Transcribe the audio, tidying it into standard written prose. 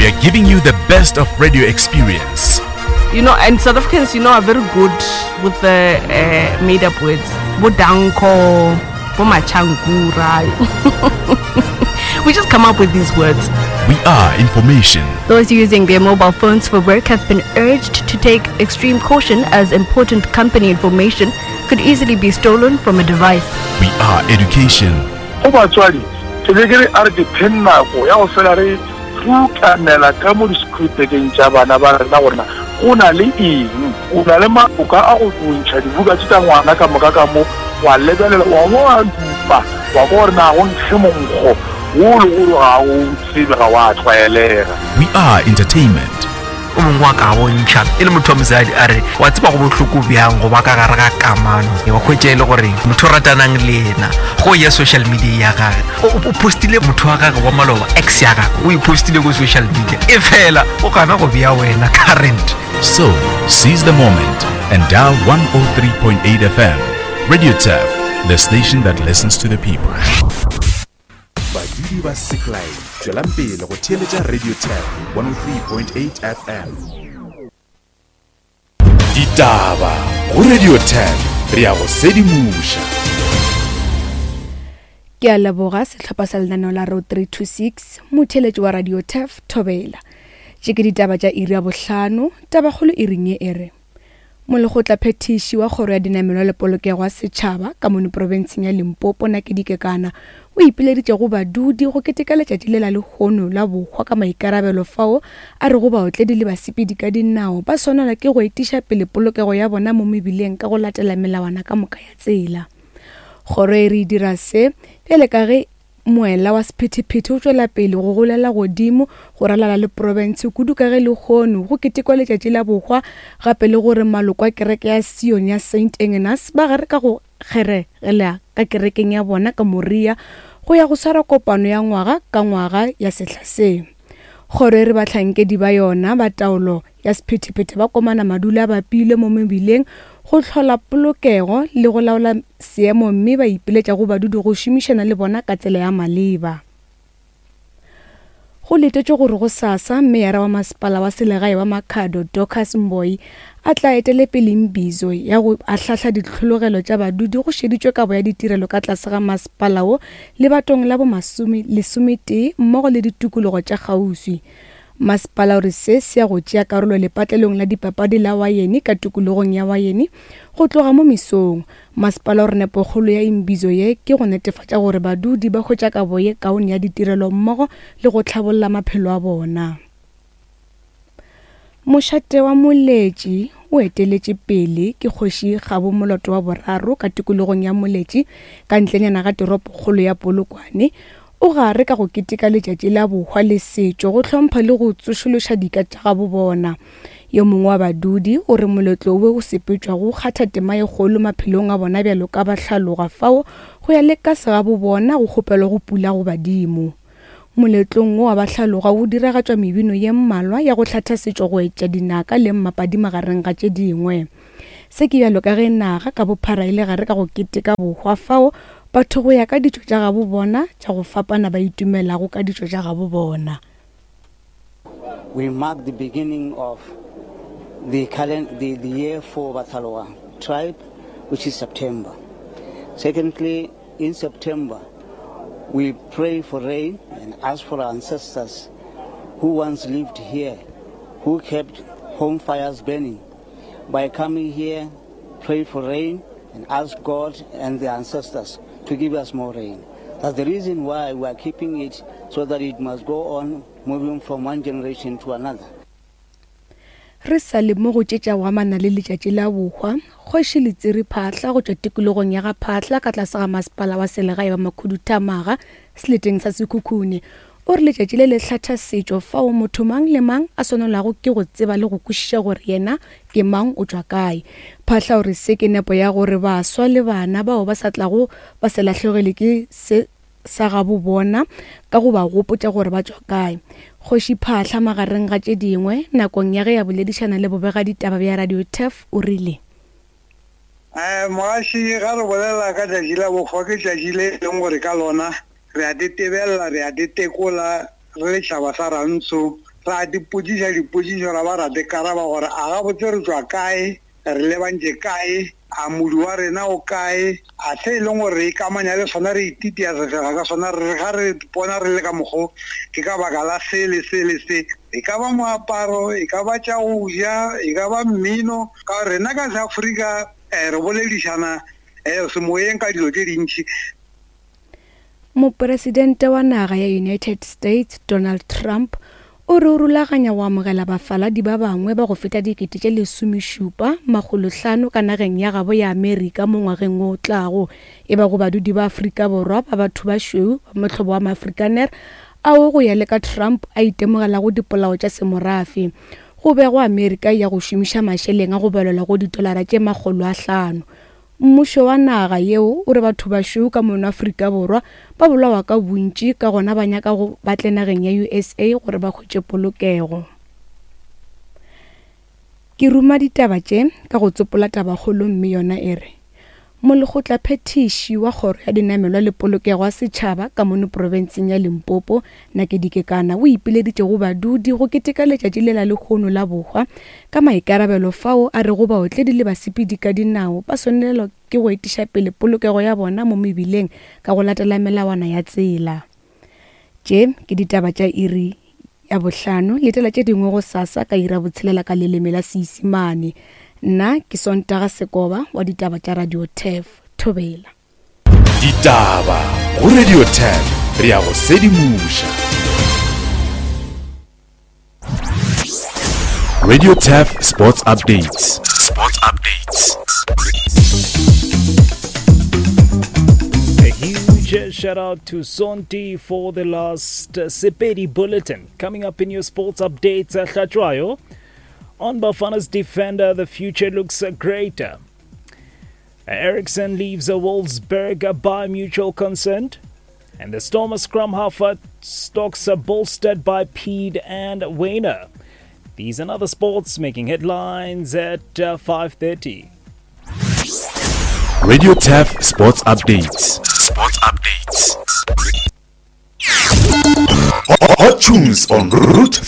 We are giving you the best of radio experience. You know, and South Africans, you know, are very good with the uh, made up words. Bodanko, Bomachankura. we just come up with these words. We are information. Those using their mobile phones for work have been urged to take extreme caution as important company information could easily be stolen from a device. We are education. Go batswadi, ke be ke re a re dipheng nako ya go fela re rutanela ka mo di-schoolbageng tša bana ba rena gore na go na le eng. O na le maoka a go ntšha dibuka tše tša ngwana ka moka ka mo, wa lebelela, wa bo wa dupa, wa kwa gore na go nkge monkgo wo le gore ga o tsebe, ga wa tlwaelega. We are entertainment. O mongwe wa ka bontšha e le motho wa mosadi a re wa tseba go bohloko bjang go ba ka gare ga kamano wa hwetša e le gore motho o ratanang le yena go ya social media ya gage o postile motho wa gage wa maloba ex ya gage o e postile ko social media e fela o gana go bea wena current. So, seize the moment and dial 103.8 FM. Radio Turf, the station that listens to the people. Badudi ba Seklai, tšwelang pele go theeletša Radio Tap 103.8 FM. Ditaba go Radio Tap, re ya go sedimoša. Ke a leboga sehlopha sa lenaneo la Road 326, motheeletši wa Radio Turf, Thobela. Tše ke ditaba tša iri ya bohlano, tabakgolo iring ye e re. Molekgotlaphethiši wa Kgoro ya Dinamelwa le Polokego ya Setšhaba ka mono profenseng ya Limpopo, Nakedi Kekana, o ipileditše go badudi go keteka letšatši le la lehono la bohwa ka maikarabelo fao a rego baotledi le basepedi ka dinao ba swanelwa ke go etiša pele polokego ya bona mo mebileng ka go latela melawana ka moka ya tsela. Kgoro e re e dira se bjale ka ge Moela wa sephethephethe o tšwela pele go golela godimo go ralala le profense kudu ka ge lehono go ketekwa letšatši la bohwa gape le gore maloko a kereke ya Sion ya Saint Engenas ba gare ka go kgeregela ka kerekeng ya bona ka Moria go ya go swara kopano ya ngwaga ka ngwaga ya sehla se. Kgoro e re bahlankedi ba yona ba taolo ya sephethephethe ba komana madula a bapilwe mo mebileng go hlola polokego le go laola seemo mme ba ipiletša go badudi go šomišana le bona ka tsela ya maleba. Go letetšwe gore gosasa meyara wa masepala wa selegae wa Makhado Dorcas Mboi a tla etele pele mbizo ya go ahlahla ditlhologelo tša badudi go šeditšwe kabo ya ditirelo ka tlase ga masepala wo lebatong la bo lesometee mmogo le ditikologo tša kgauswi. Masepala o re se se ya go tšea karolo lepatlelong la dipapadi la Wayene ka tikologong ya Wayene go tloga mo mesong. Masepala o re nepokgolo ya imbizo ye ke go netefatša gore badudi ba hwetša kabo ye kaone ya ditirelo mmogo le go hlabolla maphelo a bona. Mošate wa Moletši o eteletše pele ke Kgoši Kgabo Moloto wa boraro ka tikologong ya Moletši ka ntlenyana ga toropokgolo ya Polokwane O gare ka go keteka letšatši la bohwa le setšo go hlompha le go tsošološa dika tša gabo bona. Yo mongwe wa badudi o re moletlo wo o sepetšwago o kgatha tema ye kgolo maphelong a bona bjalo ka bahlaloga fao go ya le ka segabo bona go kgopelwago pula go badimo. Moletlong wo wa bahlaloga go diragatšwa mebino ye mmalwa ya go hlatha setšo go etša dinaka le mmapadi magareng ga tše dingwe. Se ke bjalo ka ge naga ka bophara e le gare ka go keteka bohwa fao batho go ya ka ditšo tša gabo bona tša go fapana ba itumelago ka ditšo tša gabo bona. We mark the beginning of the, the, the year for Bathaloa tribe, which is September. Secondly, in September, we pray for rain and ask for our ancestors who once lived here, who kept home fires burning. By coming here, pray for rain and ask God and the ancestors to give us more rain. That's the reason why we are keeping it so that it must go on moving from one generation to another. Re sa le mo go tše tša go amana le letšatši la bohwa, Kgoši Letsiri Phaahla go tšwa tikologong ya ga Phaahla ka tlase ga masepala wa selegae wa Makhuduthamaga seleteng sa Sekhukhune O re letšatši le le hlatha setšo fao motho mang le mang a swanelago ke go tseba le go kwešiša gore yena ke mang o tšwa kae. Phahla o re se ke nepo ya gore baswa le bana bao ba sa tlago ba se lahlegelwe ke se sa gabo bona ka go ba gopotša gore ba tšwa kae. Kgoši Phahla magareng ga tše dingwe nakong ya ge a boledišana le bobegaditaba bja Radio Turf o rile. Mogaši, ga re bolela ka tšatši la bohwa ke tšatši le e leng gore ka lona Re a di tebelela, re a di tekola re le tšhaba sa Rantsho. Ra dipotšiša dipotšišo ra ba ra di karaba gore a gabotse re tšwa kae, re lebantše kae, a modu wa rena o kae, a se e leng gore re ikamanya le sona re ititia sefega ka sona, re re ga re ipona re le ka mokgo ke ka baka la se le se le se. E ka ba moaparo, e ka ba tša go ja, e ka ba mmino, ka gore rena ka Seafrika re boledišana semoyeng ka dilo tše dintši. Mopresidente wa naga ya United States Donald Trump o re o rulaganya go amogela bafaladi ba bangwe ba go feta dikete tše lesomešupa makgolohlano ka nageng ya gabo ya Amerika mo ngwageng wo o tlago, e ba go badudi ba Afrika Borwa ba batho ba šweu ba mohlobo wa Maafrikaner ao go ya le ka Trump a itemogelago dipolao tša semorafe. Go begwa Amerika e ya go šomiša mašeleng a go balelwa go ditolara tše 500. Mmušo wa naga yeo o re bathobašweu ka mono Afrika Borwa ba bolawa ka bontši ka gona ba nyaka go ba tle nageng ya USA gore ba hwetše polokego. Ke ruma ditaba tše ka go tsopola tabakgolo mme yona e re, Molekgotlaphethiši wa Kgoro ya Dinamelwa le Polokego ya Setšhaba ka mono profenseng ya Limpopo, Nakedi Kekana o ipileditše go badudi go keteka letšatši le la lehono la bohwa ka maikarabelo fao a rego baotledi le basepedi ka dinao ba swanelwa ke go etiša pele polokego ya bona mo mebileng ka go latela melawana ya tsela. Tše ke ditaba tša iri ya bohlano, letela tše dingwe gosasa ka iri ya botshelela ka leleme la Seisimane. Nna ke Sontaga Sekoba wa ditaba tša Radio Turf. Thobela. Ditaba go Radio 10 re ya go sedimoša. Radio Turf Sports Updates. Sports Updates. A huge shout out to Sonti for the last Sepedi bulletin. Coming up in your sports updates, Hlatshwayo. On Bafana's defender, the future looks greater. Eriksen leaves Wolfsburg by mutual consent. And the Stormer scrum half stocks are bolstered by Pead and Wayner. These and other sports making headlines at 5.30. Radio Turf Sports Updates. Sports Updates. Hot tunes on Route 3.